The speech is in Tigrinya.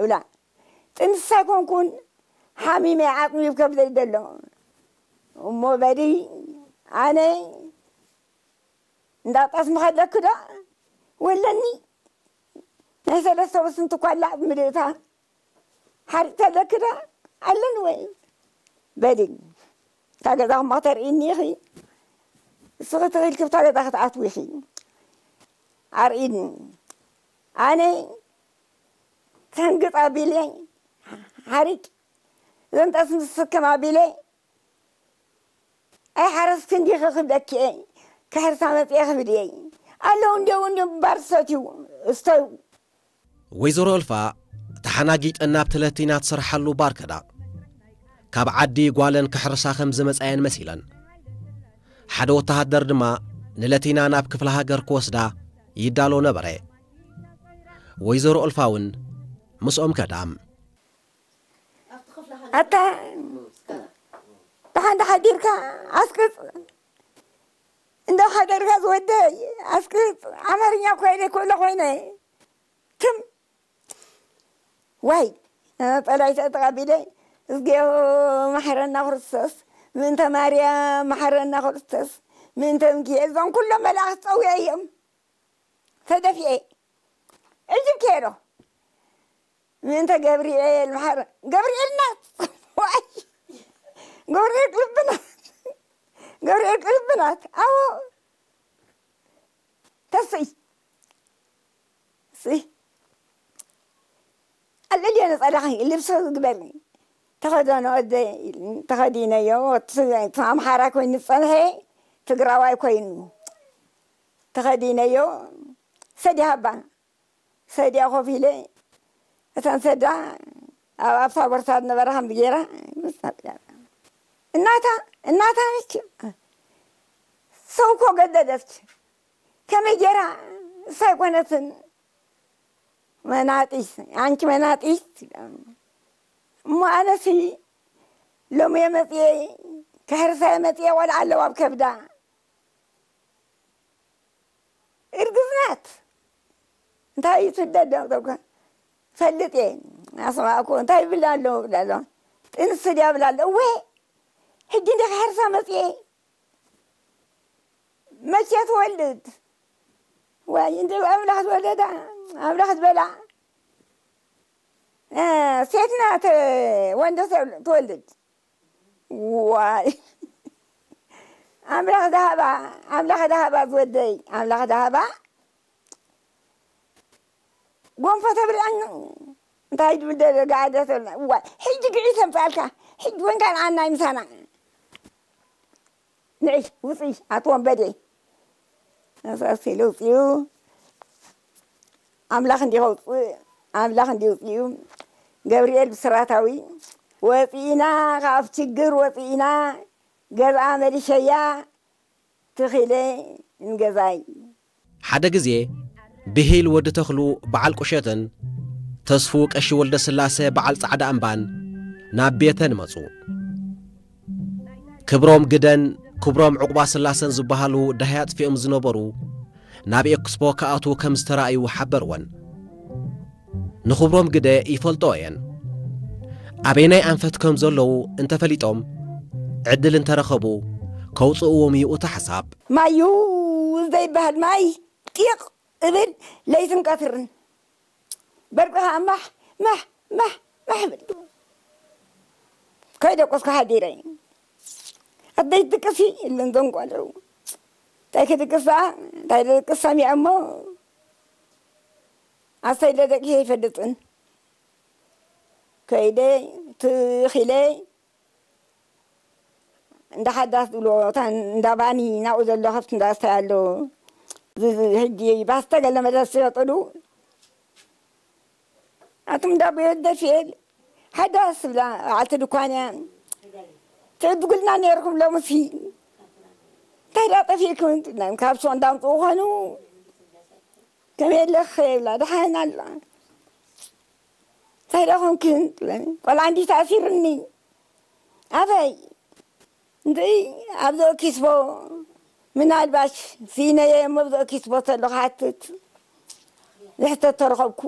እብላ። ጥንስቲ ኣይኮንኩን፣ ሓሚመ፣ ዓጽሚ ኣብ ከብደይ ዘሎ። እሞ በሊ ኣነ እንዳ ጠስሚ ከለኪ ዶ ወለኒ ናይ ሰለስተ ወስንቲ ኳላ ምልእታ ሓሪቕ ከለኪ ዶ ኣለኒ ወይ? በሊ እታ ገዛኹም ከተርእይኒ ኢኺ። እስኺ ተኺልኪ ብታ ገዛ ክትኣትዊ ኢኺ። ኣርእይኒ። ኣነ ተንግጥ ኣቢለ ሓሪቅ ዘንጠስ ምስክም ኣቢለ ኣይ ሓረስቲ እንዲኺ ክብለኪ እየ። ክሕርሳ መፅየ ክብል እየ። ኣለዉ እንዲው እንዲም ባር ሰትዩ እስተዩ። ወይዘሮ እልፋ ተሓናጊጠን ናብ ተለቲና ትሰርሓሉ ባር ከዳ። ካብ ዓዲ ጓለን ክሕርሳ ከም ዝመጻየን መሲለን። ሓደ ወተሃደር ድማ ንለቲና ናብ ክፍለ ሃገር ክወስዳ ይዳሎ ነበረ። ወይዘሮ እልፋ እውን ምስኦም ከዳ። ኣታ ደሓን ሓዲርካ ኣስቅጽ እንደ ሓደርካ ዝወደይ ኣስቅጽ ኣማርኛ ኮይነ ክእሎ ኮይነ ትም ዋይ ጸላይተ ተቐቢለ እዝግዮ መሐረና ክርስቶስ ምእንተ ማርያም መሐረና ክርስቶስ ምእንተ ምኪኤል እዞም ኩሎም መላእኽቲ ጸውየ እዮም ተደፊኤ እጅብ ከይሮ ምእንተ ገብርኤል መሐረ ገብርኤል ናት ዋይ ገብርኤል ቅልብናት ገብርኤል ቅልብናት ኣዎ ተስይ ስይ ኣለልዮ ነጸላኺ ልብሶ ዝግበር ተኸደኖ ወደ ተኸዲነዮ ኣምሓራ ኮይኑ ዝጸንሐ ትግራዋይ ኮይኑ ተኸዲነዮ ሰዲሃባ ሰዲያ ኮፍ ኢለ እተን ሰዳ ኣብ ኣብታ ቦርሳ ዝነበራ ከም ገይራ እናታ እናታ ነች ሰው እኮ ገደደች ከመይ ገይራ እሳ ኣይኮነትን መናጢስ ኣንቲ መናጢስ እሞ ኣነሲ ሎሚ የመፅየ ክሕርሳ የመፅየ ቆልዓ ኣለዋ ኣብ ከብዳ እርግዝናት እንታይ እዩ ትደደም ተብካ ፈልጥ እየ ኣስማእኮ እንታይ ይብል ኣሎ ይብል ኣሎ ጥንሲ ድያ ይብል ኣሎ እወ ሕጂ እንደ ክሕርሳ መፅየ መቼ ትወልድ ወይ እንደ ኣምላኽ ዝወለዳ ኣምላኽ ዝበላ ሴት ናት ወንዶ ትወልድ ዋይ ኣምላኽ ዳሃባ ኣምላኽ ዳሃባ ዝወደይ ኣምላኽ ዳሃባ ጎንፎ ተብልዐኒ እንታይ ድብል ደረጋ ኣደ ተብልና ዋይ ሕጂ ግዒ ተምፃልካ ሕጂ ወንካን ኣናይ ምሳና ንዒ ውፅኢ ኣቲ ወንበዴ ኣሳሲሉ ውፅኡ ኣምላኽ እንዲ ከውፅእ ኣምላኽ እንዲ ውፅኡ ገብርኤል ብስራታዊ ወፂእና ካብ ችግር ወፂእና ገዝኣ መሊሸያ ትኺለ ንገዛይ ሓደ ግዜ ብሂል ወዲ ተኽሉ በዓል ቁሸትን ተስፉ ቀሺ ወልደ ስላሰ በዓል ጻዕዳ እምባን ናብ ቤተን መጹ። ክብሮም ግደን ክብሮም ዕቑባ ስላሰን ዝበሃሉ ዳህያ ኣጥፊኦም ዝነበሩ ናብ ኤክስፖ ክኣትዉ ከም ዝተራእዩ ሓበርወን። ንኽብሮም ግደ ይፈልጦ እየን። ኣበየናይ ኣንፈት ከም ዘለዉ እንተፈሊጦም ዕድል እንተረኸቡ ከውፅእዎም እዩ እቲ ሓሳብ። ማዩ ዘይበሃል ማይ ጢቕ እብል ለይትን ቀትርን በርቂ ከዓ ማሕ ማሕ ማሕ ማሕ እብል ከይደቆስኩ ሓዲረ ኣደይ ድቅሲ እለን ዘንጓለው እንታይ ክድቅሳ እንታይ ድቅስ ሰሚዐ እሞ ኣሰይ ለደቂ ይፈልጥን ከይደ ትኺለ እንዳ ሓዳስ ዝብሎ እታ እንዳ ባኒ ናብኡ ዘሎ ከብቲ እንዳ ስታይ ኣሎ ሕጂ ባስተገለ መለስ ይሸጥሉ ኣቱም እንዳ ቤት ደፊኤል ሓዳስ ብላ በዓልቲ ድኳን እያ ትዕድጉልና ነይርኩም ሎምሲ እንታይ ዳ ጠፊእኩም ካብ ሶ እንዳምፅኡ ኾኑ ከመይ ኣለኺ ይብላ ደሓን ኣላ እንታይ ዳ ኾንክን ትብለኒ ቆልዓ እንዲ ተኣሲርኒ ኣበይ እንድዒ ኣብዞ ኪስቦ ምናልባሽ ስኢነየ እሞ ኣብዞ ኪስቦ ተሎ ክሓትት ዝሕተት ተረኸብኩ